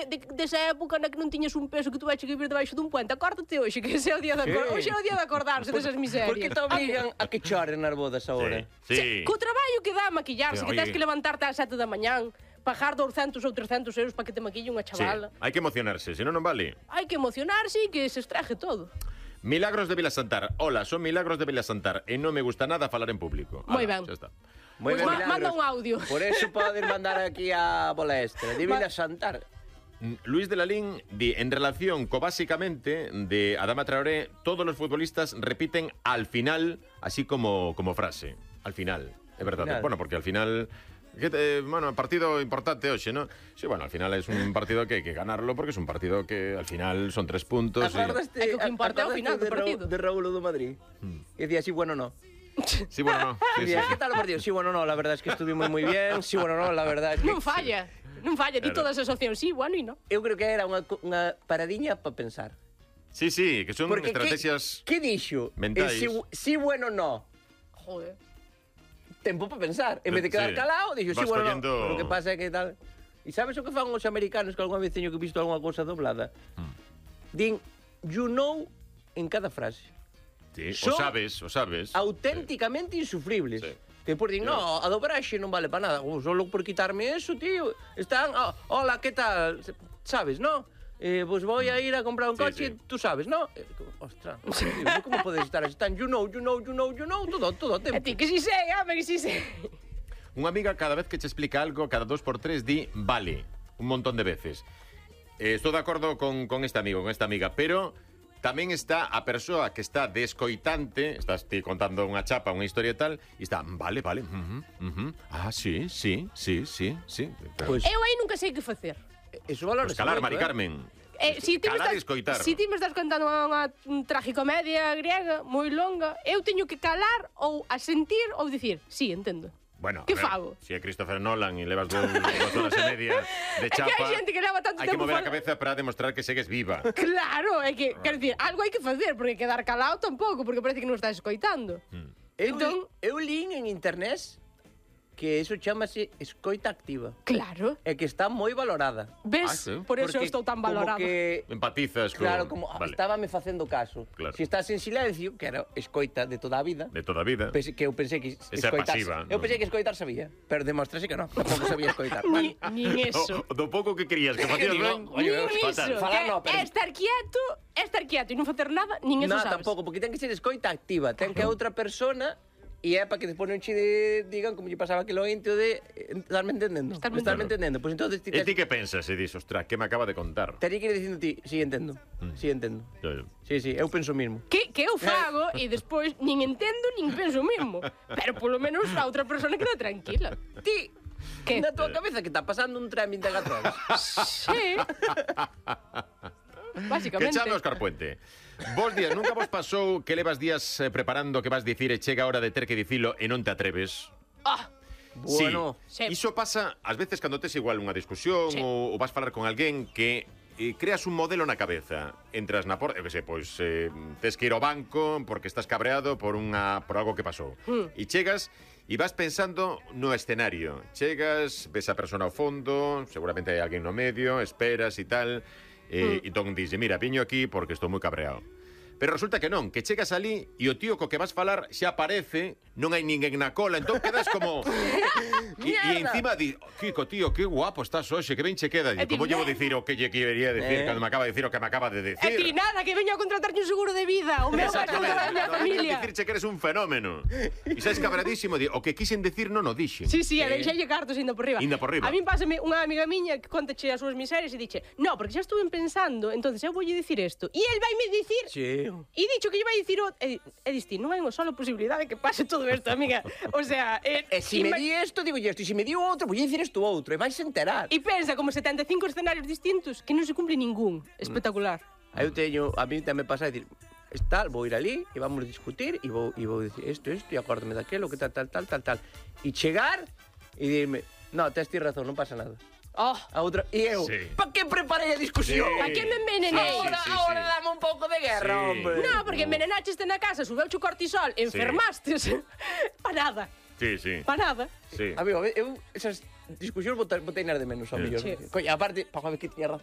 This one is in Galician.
desa época na que non tiñas un peso que tu vais a vivir debaixo dun puente. Acórdate hoxe, que ese é o día de acordarse desas miserias. Por que te obligan a que choren nas bodas agora? Sí. Co traballo que dá a maquillarse, Sí, que tens oye. que levantarte ás 7 da mañán, pagar 200 ou 300 euros para que te maquille unha Sí, chavala. hai que emocionarse, senón non vale. Hai que emocionarse e que se estraje todo. Milagros de Vilasantar. Hola, son Milagros de Vilasantar e non me gusta nada falar en público. Moi Ala, ben. xa está. Moi Pois ben, manda Milagros. un audio. Por eso podes mandar aquí a bola extra. De Vila Santar. Luis de Lalín di, en relación co básicamente de Adama Traoré, todos los futbolistas repiten al final, así como frase. Al final, é verdade. final. Bueno, porque al final... bueno, partido importante hoxe, ¿no? Sí, bueno, al final es un partido que hay que ganarlo porque es un partido que al final son 3 puntos. Acordaste, É que o que importa é o final do partido. de Raúl do Madrid? E decía, sí, bueno, no. Sí, bueno, no. Sí, sí. Decía, ¿qué tal o partido? Sí, bueno, no, la verdad es que estuvimos muy bien. Sí, bueno, no, la verdad es que... Non falla. Non falla, di Claro. todas as opcións. Sí, bueno e non. Eu creo que era unha paradiña para pensar. Sí, sí, que son Porque estrategias... ¿qué dixo? mentais. Sí, bueno, no. Joder. Tempo para pensar. En vez de quedar Sí. calado, dixo, sí, Vas bueno, collendo- no. Pero o que pasa é que tal... E sabes o que fan os americanos que algunha vez teño que visto algunha cousa doblada? Din, you know, en cada frase. Sí, Son o sabes. Auténticamente insufribles. Sí. Que por din, no, a dobraxe non vale para nada. Solo por quitarme eso, tío. Están, hola, ¿qué tal? ¿Sabes, no? Pues voy a ir a comprar un Sí, coche, sí. tú sabes, ¿no? Ostras, tío, ¿cómo puedes estar así? Están, you know, todo o E tempo. ti que si sei, home, que si sei. Unha amiga cada vez que te explica algo, cada 2 por 3 di vale, un montón de veces. Estou de acordo con este amigo, con esta amiga, pero tamén está a persoa que está de escoitante, estás ti contando unha chapa, unha historia e tal, e está, vale, sí. Pero, Pois, Eu aí nunca sei que facer. eso valora pues calar, Mari Carmen. Si ti me Calar estás, e escoitar. si ti me estás contando unha tragicomedia griega moi longa, eu teño que calar ou asentir ou dicir, sí, entendo. Bueno, Que a ver, fago? Si é Christopher Nolan e levas 2 horas e media de É que chapa, hai xente que leva tanto hai que tempo mover a fal- cabeza para demostrar que segues viva. Claro, é que, quero dicir, algo hai que facer, porque quedar calado tampouco, porque parece que non estás escoitando. Entón- eu lín en internet que eso chamase escoita activa. Claro. E que está moi valorada. Ves? Ah, sí? Por eso Porque estou tan como valorado. que Empatizas con... claro, como Vale, estábame facendo caso. Claro. Si estás en silencio, que era escoita de toda a vida, de toda a vida. que eu pensei que Esa é pasiva, eu non? pensei que escoitar sabía, pero demostrase que non, tampouco sabía escoitar. Nin eso. Do pouco que querías que facías ben, Nin fatal. iso. Falar Que no, pero- é estar quieto e non facer nada, nin eso No, sabes. tampouco, porque ten que ser escoita activa, ten que a outra persona e é para que despois non che digan como lle pasaba aquilo ento de estarme entendendo. Estarme entendendo. Pois entonces ti E ti que pensas e dis, ostras, que me acaba de contar? tería que ir dicindo ti, sí, entendo. Sí, entendo. Sí, eu penso o mismo. Que eu fago e despois nin entendo nin penso o mismo. Pero polo menos a outra persona queda tranquila. Ti, Que? na tua cabeza que está pasando un tren 24 horas. Sí. Que Básicamente. chame Óscar Puente. Vos días, nunca vos pasou que levas días preparando que vas dicir e chega a hora de ter que dicilo e non te atreves? Ah, Bueno, Sí. Iso pasa ás veces cando tes igual unha discusión Sí. ou vas falar con alguén que creas un modelo na cabeza. Entras na porta, eu que sei, pois tes que ir ao banco porque estás cabreado por algo que pasou. E chegas e vas pensando no escenario. Chegas, ves a persona ao fondo, seguramente hai alguén no medio, esperas e tal, e entón dixe, mira, viño aquí porque estou moi cabreado. Pero resulta que non, que chegas ali e o tío co que vas falar xa aparece, non hai ninguén na cola, entón quedas como... e encima di, Kiko, tío, que guapo estás hoxe, que ben che queda. E ti, Como llevo dicir o que lle quería decir cando me acaba de decir o que me acaba de e ti decir? nada, que veño a contratarlle un seguro de vida. O meu vai contra a miña familia. Dicirche que eres un fenómeno. E sabes cabradísimo, di, o que quixen decir non o dixen. Sí, sí, e deixalle cartos indo por riba. Inda por riba. A min pásame unha amiga miña que contache as súas miserias e diche, no, porque xa estuve pensando, entonces eu voulle dicir isto. E el vaime dicir... sí. E dicho que lle vai dicir e diste, non hai unha sola posibilidade que pase todo isto, amiga. O sea, E si me di isto, digo isto, e si me di outro, vou dicir isto outro, e vais enterar. E pensa como 75 escenarios distintos que non se cumpre ningún. Espectacular. Eu teño, a mí tamén pasa a decir, tal, vou ir ali e vamos a discutir e vou dicir isto, e acórdame daquelo, que tal. E chegar e dirme, no, tes ti razón, non pasa nada. Oh, A outra, e eu, Sí. pa que preparei a discusión? Sí. pa que me envenenei? Ahora dame un pouco de guerra, Sí. hombre. No, porque envenenacheste na casa, subeuche o cortisol, enfermastes. Pa nada, Sí, sí. pa nada. Sí. Amigo, eu esas discusións botei nas de menos, ao mellor. Sí. Coño, aparte, pa ver que tiña razón.